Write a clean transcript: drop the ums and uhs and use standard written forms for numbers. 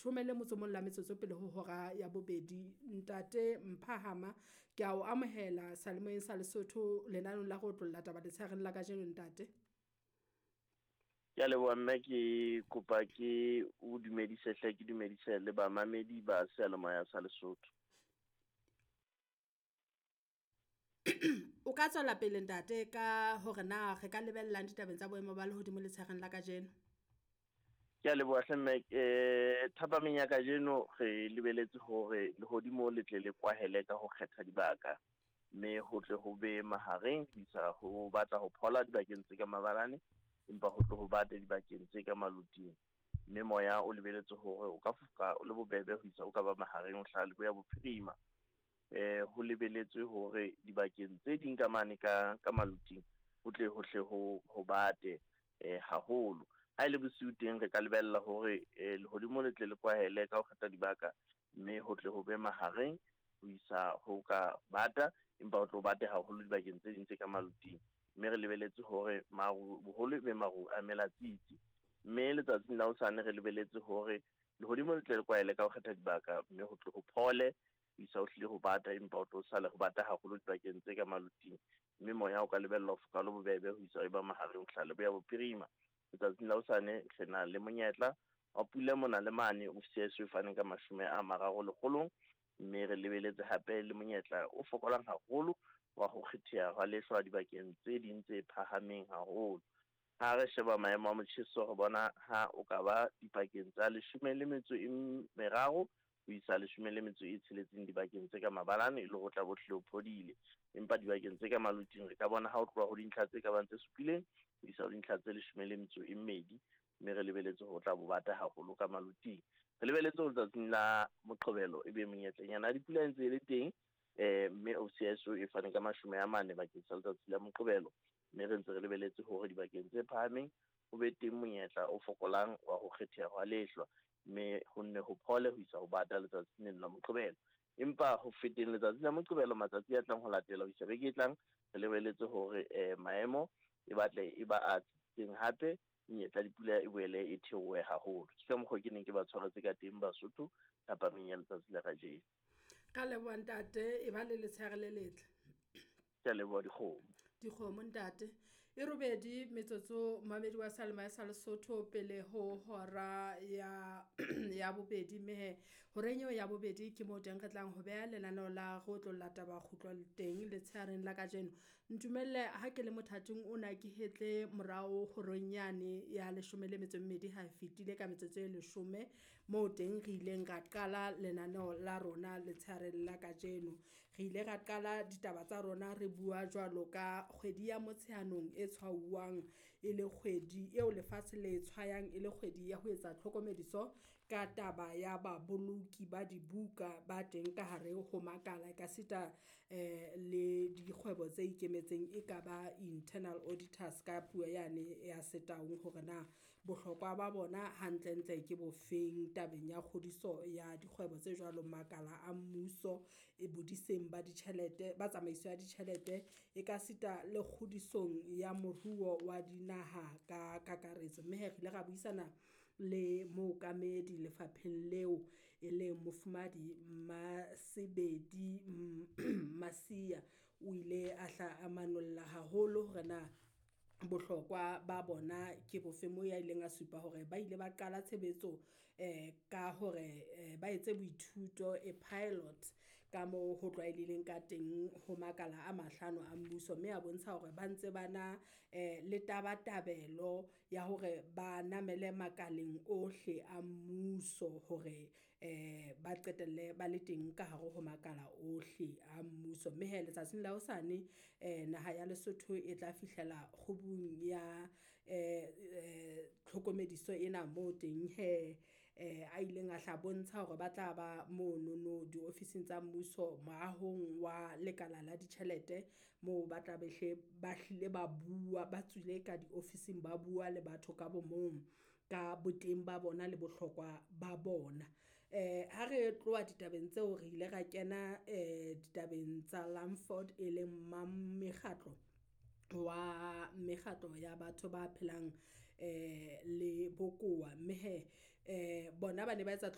11 la metsotso pele ho hora ya bobedi. Ntate Mphahama, ke a o amohela seyalemoyeng sa Lesotho lenaneong la go otlolla taba letshehareng la kajeno ntate. Ke a leboha mme, ke kopa ke o dumedise hle, ke dumedise le bamamedi ba seyalemoya sa Lesotho. O ka tswela pele ntate ka hore na re ka lebellang ditabeng tsa boemo ba lehodimo letshehareng la kajeno. Ke a leboha hle mme, thapameng ya kajeno re lebeletse hore lehodimo le tle le kwahele ka ho kgetha dibaka, mme ho tle ho be mahareng ho isa ho batla ho phola dibakeng tse ka mabalane, empa ho tle ho bate dibakeng tse ka maloting. Mme moya o lebeletse hore o ka foka o le bobebe ho isa o ka ba mahareng ho hlaha leboya bophirima. Ho lebeletswe hore dibakeng tse ding ka mane ka maloting ho tle ho hle ho bate haholo. Ha e le bosiu teng re ka lebella hore lehodimo le tle le kwahele ka ho kgetha dibaka, mme ho tle ho be mahareng ho isa ho ka bata, empa ho tle ho bate haholo dibakeng tse ding tse ka maloting. Mme re lebeletse hore maru boholo e be maru a melatsitsi. Mme letsatsing la hosane re lebeletse hore lehodimo le tle le kwahele ka ho kgetha dibaka, mme ho tle ho phole ho isa ho hlile ho bata, empa ho tlo sale ho bata haholo dibakeng tse ka maloting. Mme moya o ka lebella ho foka le bobebe ho isa e ba mahareng ho hlaha leboya bophirima. Letsatsing la hosane re na le monyetla wa pula mona le mane OCS e faneng ka 30 lekgolong, mme re lebeletse hape le monyetla o fokolang haholo wa ho kgetheha hwa lehlwa dibakeng tse ding tse phahameng haholo. Ha re sheba maemo a motjheso re bona ha o ka ba dipakeng tsa 13 ho isa 16 dibakeng tse ka mabalane, e le ho tla bo hlile ho phodile. Empa dibakeng tse ka maloting re ka bona ha o tloha ho dintlha tse ka bang tse 7 ho isa ho dintlha tse 12, mme re lebeletse ho tla bo bata haholo ka maloting. Re lebeletse ho letsatsing la Moqebelo e be monyetlenyana ya dipula e ntse e le teng, mme OCSO e fane ka 40 bakeng sa letsatsi la Moqebelo, mme re ntse re lebeletse hore dibakeng tse phahameng ho be teng monyetla o fokolang wa ho kgetheha hwa lehlwa, mme ho nne ho phole ho isa ho bata letsatsing leno la Moqebelo. Empa ho feteng letsatsi la Moqebelo, matsatsi a tlang ho latela ho isa beke e tlang, re lebeletse hore maemo e batle e ba a tsitsitseng hape, menyetla dipula e boele e theohe haholo. Ke ka mokgwa ke neng ke ba tshwaretse ka teng Basotho thapameng ya letsatsi la kajeno. Ka leboha ntate, e ba le letshehare le letle. Ke a leboha dikgomo. Dikgomo ntate. E robedi metsotso mamedi wa Salema sa Lesotho pele ho hora ya ya bobedi, mme horeng eo ya bobedi ke moo teng re tlang ho beha lenaneo la go otlolla taba kgutlo teng letshehareng la kajeno. Ntumelle ha ke le mothating ona ke hetle morao horeng yane ya 12 ha fetile ka metsotso e 10, moo teng re ileng ra qala lenaneo la rona letshehareng la kajeno. Re ile ra qala ditaba tsa rona re bua jwalo ka kgwedi ya Motsheanong e tshwauwang e le kgwedi eo lefatshe le tshwayang e le kgwedi ya ho etsa tlhokomediso ka taba ya baboloki ba dibuka ba teng ka hare ho makala ekasita le dikgwebo tse ikemetseng e ka ba internal auditors ka puo yane ya Setaung, hore na bohlokwa ba bona hantlentle ke bofeng tabeng ya kgodiso ya dikgwebo tse jwalo makala a mmuso e bodiseng ba ditjhelete ba tsamaiso ya ditjhelete ekasita le kgodisong ya moruo wa dinaha ka kakaretso. Mme re ile ra buisana le mookamedi lefapheng leo e leng Mofumahadi Masebedi Masia, o ile a hla a manolla haholo hore na bohlokwa ba bona ke bofe, moo ya ileng a supa hore ba ile ba qala tshebetso ka hore ba etse boithuto e pilot ka moo ho tlwaelehileng ka teng ho makala a 5 a mmuso, mme a bontsha hore ba ntse ba na le tabatabelo ya hore ba namele makaleng ohle a mmuso hore ba qetelle ba le teng ka hare ho makala ohle a mmuso. Mme he letsatsing la hosane naha ya Lesotho e tla fihlela kgubung ya tlhokomediso ena moo teng he a ileng a hla bontsha hore ba tla ba monono diofising tsa mmuso moahong wa lekala la ditjhelete, moo ba tla be ba hlile ba bua ba tswile ka diofising ba bua le batho ka bo mong ka boteng ba bona le bohlokwa ba bona. Ha re tloha ditabeng tseo re ile ra kena ditabeng tsa Lamford e leng mekgatlo wa mekgatlo ya batho ba phelang le bokowa, mme he bona ba ne ba etsa